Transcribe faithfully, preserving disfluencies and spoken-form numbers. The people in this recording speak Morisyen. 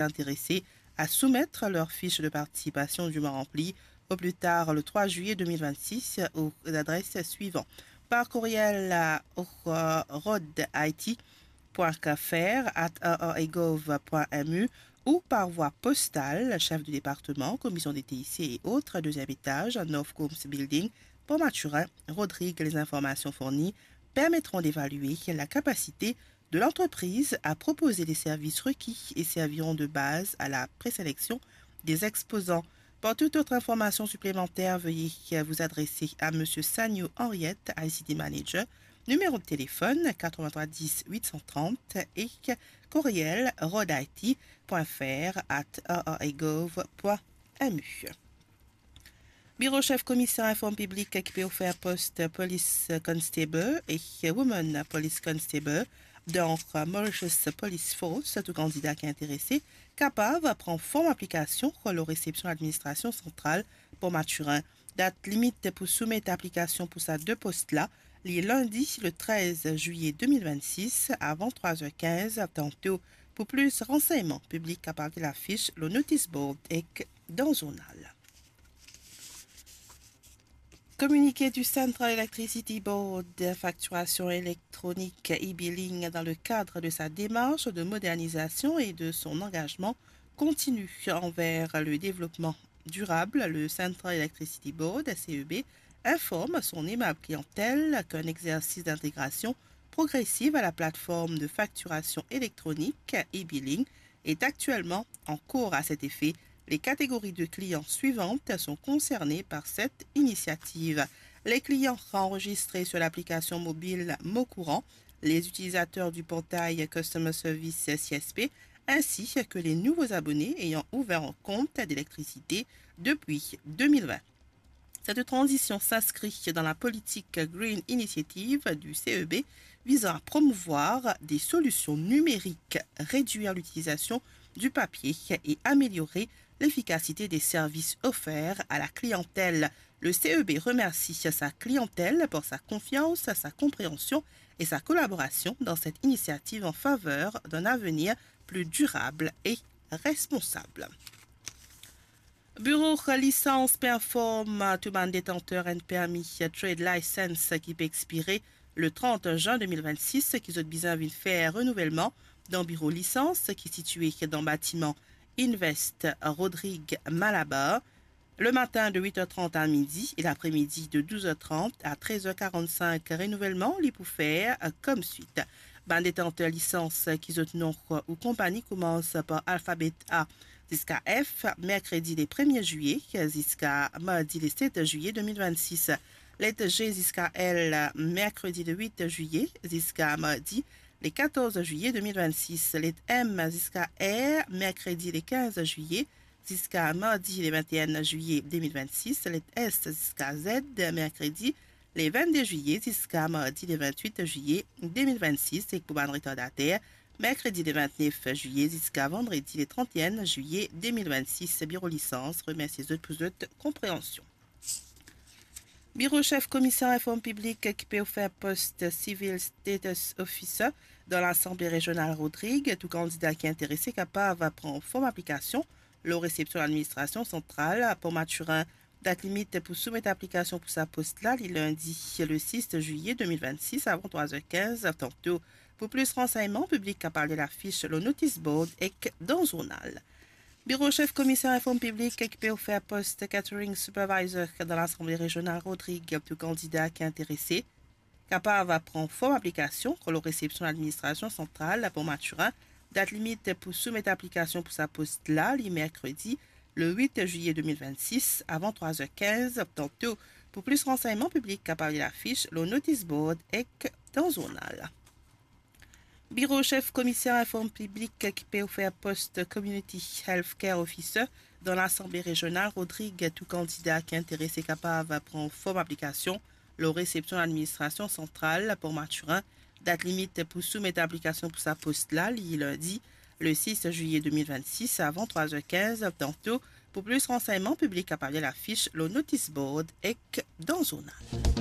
intéressés à soumettre leur fiche de participation dûment remplie au plus tard le trois juillet deux mille vingt-six aux adresses suivantes. Par courriel à rodit.fr@rregov.mu ou par voie postale, chef de département, commission des T I C et autres, deuxième étage, North Combs Building, Port Mathurin, Rodrigues. Les informations fournies permettront d'évaluer la capacité de l'entreprise à proposer les services requis et serviront de base à la présélection des exposants. Pour toute autre information supplémentaire, veuillez vous adresser à Monsieur Sagno Henriette, I C T Manager, numéro de téléphone quatre-vingt-trois dix huit cent trente et courriel rodit.fr@rregov.mu. Biro Sef Komiser Inform Piblik ki pe ofer post Police Constable e Woman Police Constable dan Mauritius Police Force. Tou kandida ki interese kapav pran form aplikasion lor resepsion ladministrasion santral Port Mathurin. Dat limit pou soumet aplikasion pou sa de post la, li lindi le trez zilye de mil vennsis avan trwa zer kinz. Tanto, pou plis ransegnman, piblik kapav get lafis lor notice board ek dan zournal. Communiqué du Central Electricity Board, facturation électronique, e-billing, dans le cadre de sa démarche de modernisation et de son engagement continu envers le développement durable, le Central Electricity Board, C E B, informe son aimable clientèle qu'un exercice d'intégration progressive à la plateforme de facturation électronique e-billing est actuellement en cours. À cet effet, les catégories de clients suivantes sont concernées par cette initiative. Les clients enregistrés sur l'application mobile Mon Courant, les utilisateurs du portail Customer Service C S P, ainsi que les nouveaux abonnés ayant ouvert un compte d'électricité depuis deux mille vingt. Cette transition s'inscrit dans la politique Green Initiative du C E B visant à promouvoir des solutions numériques, réduire l'utilisation du papier et améliorer l'efficacité des services offerts à la clientèle. Le C E B remercie sa clientèle pour sa confiance, sa compréhension et sa collaboration dans cette initiative en faveur d'un avenir plus durable et responsable. Biro Lisans pe inform tou bann detanter enn permi trade license ki pe expire le trant zin de mil vennsis, ki zot bizin vinn fer renouvelman dan biro lisans ki sitie dan batiman Invest Rodrigues Malabar, le matin de huit heures trente à midi et l'après-midi de douze heures trente à treize heures quarante-cinq. Renouvelman li pou fer, euh, comme suit. Bann detanter lisans ki zot nom ou konpani koumans par alfabet A ziska F, merkredi le premie zilye ziska mardi le set zilye de mil vennsis. Let G ziska L, merkredi le wit zilye ziska mardi le katorz zilye de mil vennsis. Let M ziska R, merkredi le kinz zilye ziska mardi le vinteenn zilye de mil vennsis. Let S ziska Z, merkredi le vennde zilye ziska mardi le vintwit zilye de mil vennsis. Ek pou bann retardater, merkredi le vintnef zilye ziska vandredi le tranteenn zilye de mil vennsis. Biro Lisans remersie zot pou zot konpreansion. Biro Sef Komiser Inform Piblik ki pe ofer post Civil Status Officer dan Lasanble Rezional Rodrigues. Tou kandida ki interese kapav pran form aplikasion lor resepsion ladministrasion santral Port Mathurin. Dat limit pou soumet aplikasion pou sa post la, li lindi le sis zilye de mil vennsis avan trwa zer kinz. Tanto, pou plis ransegnman, piblik kapav get lafis lor notice board ek dan zournal. Biro Sef Komiser Inform Piblik ki pe ofer post Catering Supervisor dan Lasanble Rezional Rodrigues. Tou kandida ki interese kapav pran form aplikasion lor resepsion ladministrasion santral Port Mathurin. Dat limit pou soumet aplikasion pou sa post la, li merkredi le wit zilye de mil vennsis avan trwa zer kinz. Tanto, pou plis ransegnman, piblik kapav get lafis lor notice board ek dan zournal. Biro Sef Komiser Inform Piblik ki pe ofer post Community Healthcare Officer dan Lasanble Rezional Rodrigues. Tou kandida ki interese kapav pran form aplikasion lor resepsion ladministrasion santral Port Mathurin. Dat limit pou soumet aplikasion pou sa post la, li lindi le sis zilye de mil vennsis avan trwa zer kinz. Tanto, pou plis ransegnman, piblik kapav get lafis lor notice board ek dan zournal.